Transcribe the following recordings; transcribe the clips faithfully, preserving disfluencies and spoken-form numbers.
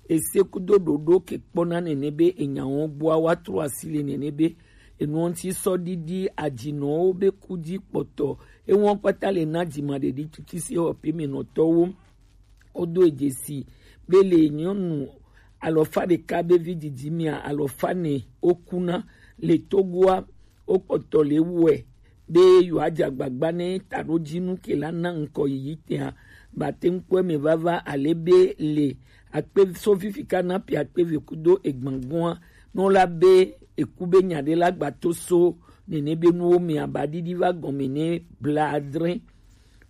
ese kudo ɖoɖo ke kpɔna nene be enyawo gbɔa wa tro asi le nene be enuɔ ŋuti sɔ ɖiɖi ajinɔwo be ku ji kpɔtɔ. Enuɔ kpata le na jima ɖeɖi tukisi ewɔ pe me nɔtɔwo. Wodo edzesi be le nyɔnu alɔfa ɖeka be vi didi mea alɔfa ne wokuna le Togoa. Wokpɔtɔ le wɔe be yewoadze agbagba ne taɖodzinu ke la na ŋkɔ yiyi tɛa bate ŋkpɔe me vava ale be le akpe so fifi ka na pe akpe ve kudo egbangbɔa nɔ la be eku be nya ɖe la gbato so nene be nuwo me aba ɖiɖi va gɔme ne bla adre.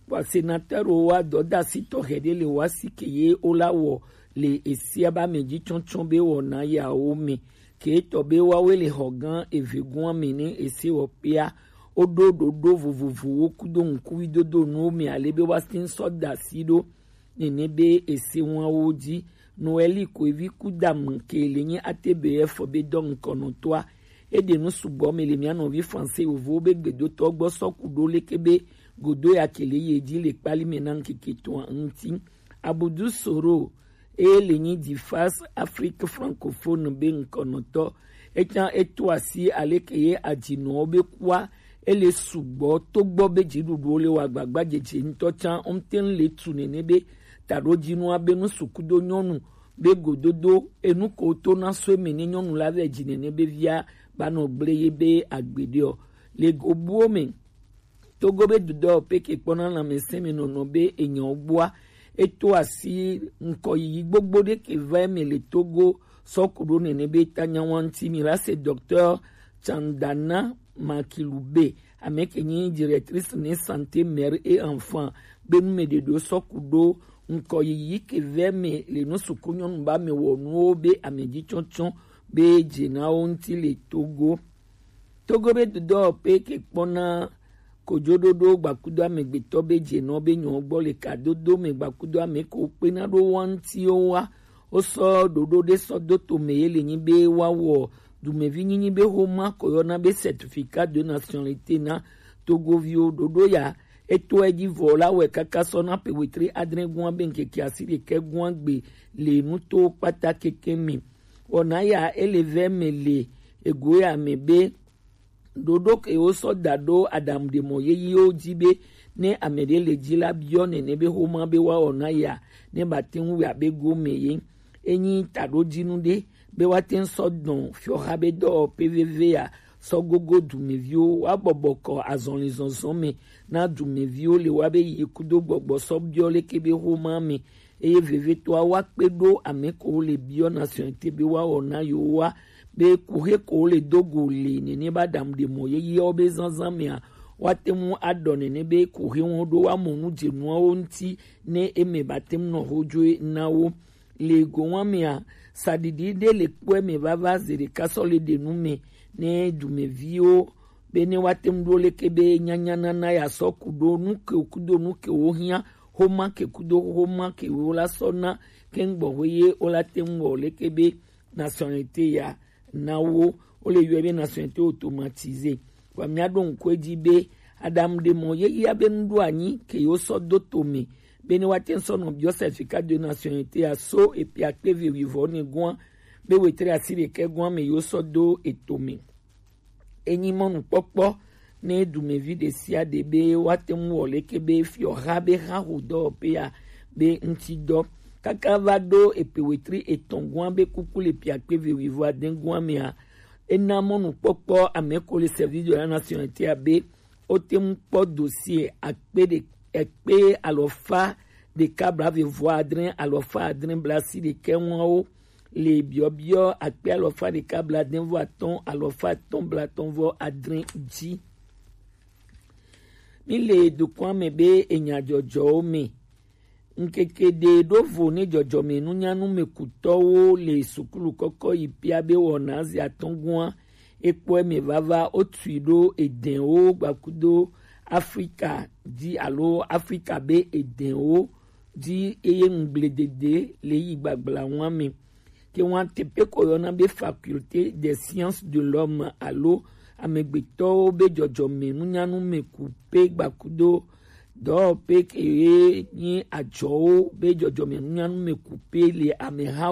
Kpa senatɛrwo wa dɔdasi tɔxɛ ɖe le wa si ke ye wo la wɔ le esia ba me ji tsɔtsɔ be wɔna yawo me ke tɔ be wawe le xɔ gã eve gɔa me ne ese wɔ pea. Woɖo ɖoɖo vovovowo kudo ŋkuvidodo nuwo me ale be woate ŋu sɔ da asi ɖo nene be ese wawo ji. Noeli ko evi ku dam ke le nyi A T B F be dɔ ŋkɔnɔtɔa. Eɖe nu sugbɔ me le mia nɔvi français yovowo be gbedotɔ gbɔ sɔ ku ɖo leke be godo ya ke le ye ji le kpali me na ŋkeke tɔa ŋuti. Abudu Soro eye le nyi Difas Afrique francophone be ŋkɔnɔtɔ. Etsã eto asi aleke ye adzinɔwo be kua ele sugbɔ togbɔ be dziɖuɖuwo le wa agbagba dzedze ŋutɔ tsã womte ŋu le tu nene be taɖodzinua be nu sukudo nyɔnu be gododo enu ko to na so eme ne nyɔnu la vɛ dzi nene be via ba nɔ gble ye be agbeɖe ɔ le gobuwo me. Togo be dudɔ peke kpɔna lãmesẽ me nɔnɔ be enyawo gbɔa eto asi ŋkɔ yiyi gbogbo ɖe ke va eme le Togo sɔ ku ɖo nene be ta nyawa ŋuti mi la se docteur Chandana Makilube ame ke nyi directrice ne santé mère et enfant be nu me ɖeɖo sɔ ku ɖo ŋkɔ yiyi ke va eme le nu suku nyɔnu ba me wɔ nuwo be ame dzi tsɔtsɔ be dze na wo ŋuti le Togo. Togo be dudɔ pe ke kpɔna kojoɖoɖo gbakudo amegbetɔ be dze nɔ be nyɔ gbɔ le kadodo me gbakudo ame ko kpena ɖo wa ŋuti wo wa. Wosɔ ɖoɖo ɖe sɔ do to me ye le nyi be woawɔ dumevi nyinyi be xoma ko yɔna be certificat de nationalité na Togoviwo. Ɖoɖo ya eto edzi vɔ la wɛ kaka sɔ na pe wetri adre gua be ŋkeke asi ɖekɛ gua gbe le nuto kpata keke me. Wɔna ya ele vɛ me le ego ya me be ɖoɖo ke wosɔ da ɖo aɖaŋuɖemɔ yeyewo dzi be ne ame ɖe le dzi la biɔ nene be xoma be woawɔ na ya ne bate ŋu wɛ abe gome ye. Enyi taɖodzinu ɖe be woate ŋu sɔ dɔn fiɔxa be dɔwɔƒe veve ya sɔ gogo dumeviwo woabɔbɔ kɔ azɔlizɔzɔ me na dumeviwo le wa be yi kudo gbɔgbɔ sɔ biɔ leke be xoma me eye vevetɔa woakpe ɖo ame kowo le biɔ nationalité be woawɔ na yewoa be kuxe kowo le do go le nene ba ɖaŋuɖemɔ yeyeawo be zazã mea woate ŋu aɖɔ nene be kuxe ŋu ɖo woamɔ nu dze nuawo ŋuti ne eme bate ŋu nɔ xodzoe na wo. Le gowa mea saɖiɖi ɖe le kpɔe me vava ze ɖeka sɔ le ɖe nu me ne dumeviwo be ne woate ŋu ɖo leke be nyanya nana ya sɔ ku ɖo nu ke kudo nu ke wo hiã xoma ke kudo xoma ke wo la sɔ na ke ŋgbɔ xo ye wo la te ŋu wɔ leke be nationalité ya na wo wo le yɔe be nationalité automatisée. Wa mia ɖo ŋku edzi be aɖaŋuɖemɔ yeyea be nu ɖo anyi ke yewo sɔ do to me be ne woate ŋu sɔ nɔ biɔ certificat de nationalité ya so epe akpe ve wuivɔ ne gɔa be wetre asi ɖekɛ gɔa me yewo sɔ do eto me. Enyi mɔnukpɔkpɔ ne dumevi ɖe sia ɖe be woate ŋu wɔ leke be fiɔha be ha ho dɔwɔƒea be ŋuti dɔ kaka va ɖo epe wetri etɔ̃ gɔa be kuku le pe akpe ve wuivɔ ade gɔa mea ena mɔnukpɔkpɔ ame ko le service de la nationalité abe wote ŋu kpɔ dossier akpe ɖe ekpe alɔfa ɖeka blaeve vɔ adre alɔfa adre blasi ɖekɛ ŋuawo le biɔbiɔ akpe alɔfa ɖeka blaade vɔ atɔ̃ alɔfa atɔ̃ blaatɔ̃ vɔ adre dzi. Mi le dukɔa me be enya dzɔdzɔwo me. Ŋkeke ɖe ɖo vo ne dzɔdzɔme nunyanu me kutɔwo le sukulu kɔkɔ yi pia be wɔna zi atɔ̃ gɔa ekpɔe me vava wotui ɖo edɛnwo gbakudo Afrika dzi alo Afrika be edɛnwo dzi eye ŋugbledede le yi gbagbla ŋua me. Ke ŋua teƒe ko yɔna be faculté des sciences de l'homme alo amegbetɔwo be dzɔdzɔme nunyanu me ku pe gbakudo dɔwɔƒe ke ye nyi adzɔwo be dzɔdzɔme nunyanu me ku pe le amehawo